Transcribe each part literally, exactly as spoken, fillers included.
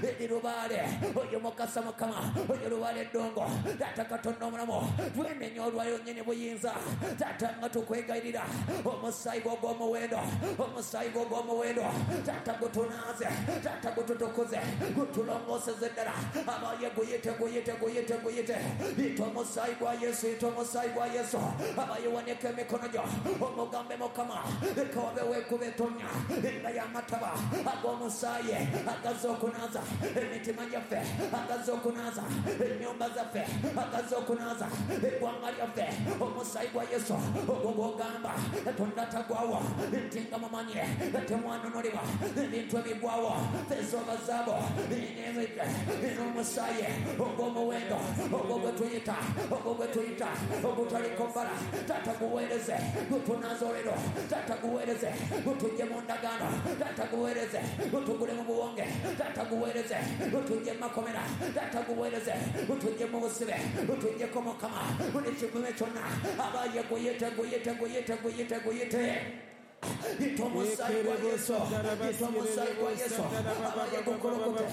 Eri lubaale oyo mukasa Mukama oyo lubaale ddongo Taata Katonda omulamu twenenya olwayo nnyini buyinza Taata nga tukwegayirira omusaayi gwo ogw'omuwendo omusaayi gwo ogw'omuwendo Taata gutunaaze Taata gututukuze gutulongooseze ddala abaye guyite guyite guyite guyite yita omusaayi gwa Yesu yita omusaayi gwa Yesu abaye waneka emikono gyo omugambe Mukama leka wabeewo ekkubo ettonya enga y'amataba ag'omusaayi agazza okunaaza emitima gyaffe agazza okunaaza ennyumba zaffe agazza okunaaza eggwanga lyaffe omusaayi gwa Yesu ogwo gw'ogamba Katonda tagwawo nti nga mumanye temwanunulibwa ebintu ebigwawo fezooba zaabo n'omusaayi ogw'omuwendo ogwo gwe tuyita ogwo gwe tuyita ogutaliko bbala Taata guweereze gutunaaze olero Taata guweereze gutujje mu ndagaano Taata guweereze gutugule mu buwonge Taata guweereze gutujje mu makomera Taata guweereze gutujje mu busibe gutujjeko Mukama buli kigume kyonna abaye guyite guyite guyite guyite guyite yita omusaayi gwa Yesu yita omusaayi gwa Yesu abaye gukolokote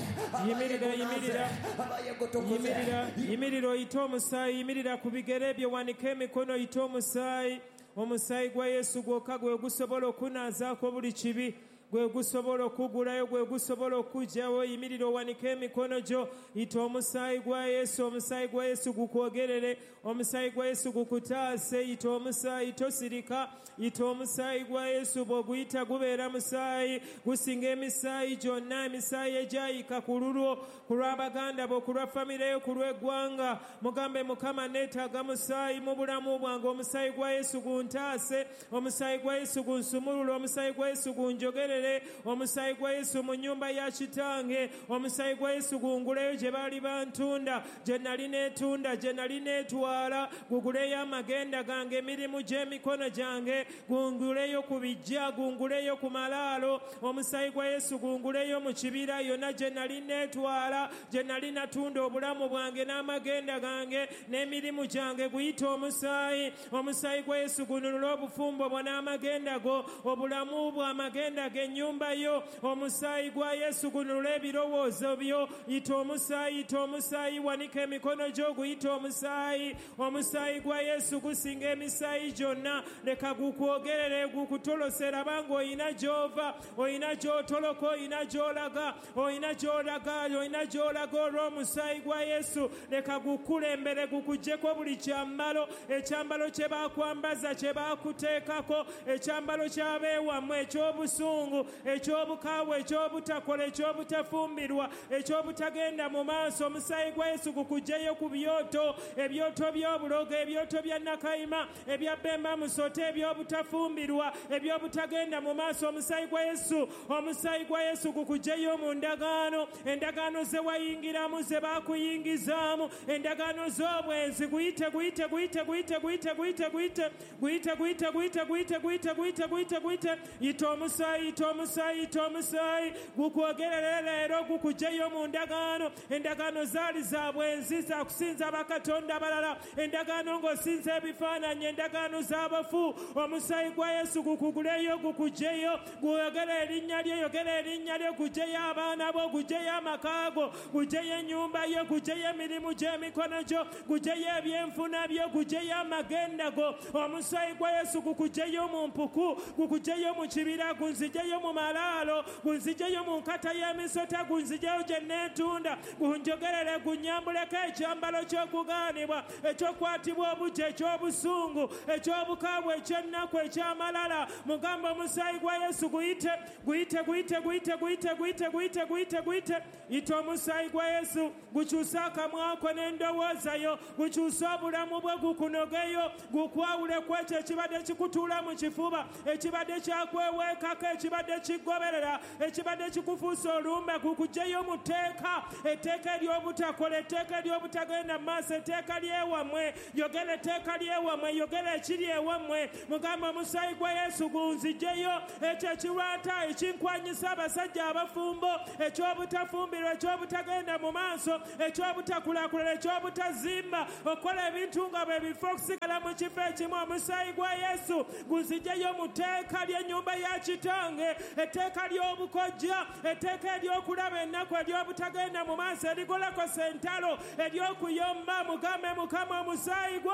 Yimirira, yimirira. abaye gutukuze Yimirira, yimirira oyite omusaayi, yimirira ku bigere byo wanike emikono oyite omusaayi. Omusaayi gwa Yesu gwokka gwe gusobola okunaazaako buli kibi, gwe gusobola okugulayo, gwe gusobola okuggyawo. Yimirira owanike emikono gyo, yita omusaayi gwa Yesu. Omusaayi gwa Yesu gukwogerere, omusaayi gwa Yesu gukutaase. Yita omusaayi, tosirika. Yita omusaayi gwa Yesu, bw'oguyita gubeera musaayi, gusinga emisaayi gyonna, emisaayi egyayika ku lulwo, ku lw'abaganda bo, ku lwa famire yo, ku lw'eggwanga. Mugambe Mukama, neetaaga musaayi mu bulamu bwange. Omusaayi gwa Yesu guntaase, omusaayi gwa Yesu gunsumulule, omusaayi gwa Yesu gunjogerere, omusaayi gwa Yesu mu nnyumba ya kitange, omusaayi gwa Yesu gunguleyo gye baali bantunda, gye nali neetunda, gye nali neetwala, guguleyo amagenda gange, emirimu gy'emikono gyange, gunguleyo ku bijja, gunguleyo ku malaalo, omusaayi gwa Yesu gunguleyo mu kibira yonna gye nali neetwala, gye nali natunda obulamu bwange n'amagenda gange n'emirimu gyange. Guyite omusaayi, omusaayi gwa Yesu gununule obufumbo bwo n'amagenda go, obulamu bwo, amagenda g'ennyumba yo. Omusaayi gwa Yesu gununule ebirowoozo byo. Yita omusaayi, yita omusaayi, wanika emikono gyo guyite omusaayi. Omusaayi gwa Yesu gusinga emisaayi gyonna, leka gukwogerere, gukutolosera banga oyina gy'ova, oyina gy'otoloka, oyina gy'olaga, oyina gy'olaga, oyina gy'olaga olw'omusaayi gwa Yesu. Leka gukulembere, gukuggyeko buli kyambalo, ekyambalo kye baakwambaza, kye baakuteekako, ekyambalo ky'abeewammwe, eky'obusungu, eky'obukaawe, eky'obutakola, eky'obutafumbirwa, eky'obutagenda mu maaso. Omusaayi gwa Yesu gukuggyeyo ku byoto, ebyoto by'obulogo, ebyoto bya Nakayima, ebya Bemba Musote, eby'obutafumbirwa, eby'obutagenda mu maaso. Omusaayi gwa Yesu, omusaayi gwa Yesu gukuggyeyo mu ndagaano, endagaano ze wayingiramu, ze baakuyingizaamu, endagaano z'obwenzi. Guyite, guyite, guyite, guyite, guyite, guyite, guyite, guyite, guyite, guyite, guyite, guyite, guyite, guyite, guyite. Yita omusaayi, yita omusaayi, yita omusaayi, gukwogerere leero, gukuggyeyo mu ndagaano. Endagaano zaali za bwenzi, za kusinza bakatonda abalala, endagaano ng'osinza ebifaananyi, endagaano z'abafu. Omusaayi gwa Yesu gukuguleyo, gukuggyeyo, gwogere erinnya lyo, yogera erinnya lyo, guggyeyo abaana bo, guggyeyo amaka go, guggyeyo ennyumba yo, guggyeyo emirimu gy'emikono gyo, guggyeyo ebyenfuna byo, guggyeyo amagenda go. Omusaayi gwa Yesu gukuggyeyo mu mpuku, gukuggyeyo mu kibira, gunzigyeyo mu malaalo, gunzigyeyo mu nkata y'emisota, gunzigyeyo gye neetunda, gunjogerere, gunnyambuleko ekyambalo ky'okugaanibwa, ekyokwatibwa obuggya, eky'obusungu, eky'obukambwe, eky'ennaku, eky'amalala. Mugambe omusaayi gwa Yesu guyite, guyite, guyite, guyite, guyite, guyite, guyite, guyite, guyite. Yita omusaayi gwa Yesu gukyuse akamwa ko n'endowooza yo, gukyuse obulamu bwe, gukunogeyo, gukwawule ku ekyo ekibadde kikutuula mu kifuba, ekibadde kyakweweekako, ekibadde kigoberera, ekibadde kikufuusa olumbe. Gukuggyeyo mu tteeka, etteeka ery'obutakola, etteeka ery'obutagenda mu maaso, etteeka ly'ewammwe. Yogera etteeka ly'ewammwe, yogera ekiri ewammwe. Mugambe omusaayi gwa Yesu gunzigyeyo ekyo ekirwata ekinkwanyisa abasajja abafumbo, eky'obutafumbirwa, eky'obutagenda mu maaso, eky'obutakulaakulana, eky'obutazimba, okukola ebintu nga bwe bifo, okusigala mu kifo ekimu. Omusaayi gwa Yesu gunzigyeyo mu tteeka ly'ennyumba ya kitange. bw'obukadde, etteeka ly'obukojja, etteeka ery'okulaba ennaku, ery'obutagenda mu maaso, erigolokosa entalo, ery'okuyomba. Mugambe Mukama omusaayi gwo,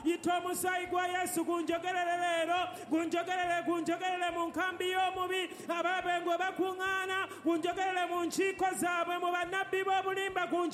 yita omusaayi gwa Yesu gunjogerere leero, gunjogerere, gunjogerere mu nkambi y'omubi, ababengo bakuŋŋaana, gunjogerere mu nkiiko zaabwe, mu bannabbi b'obulimba.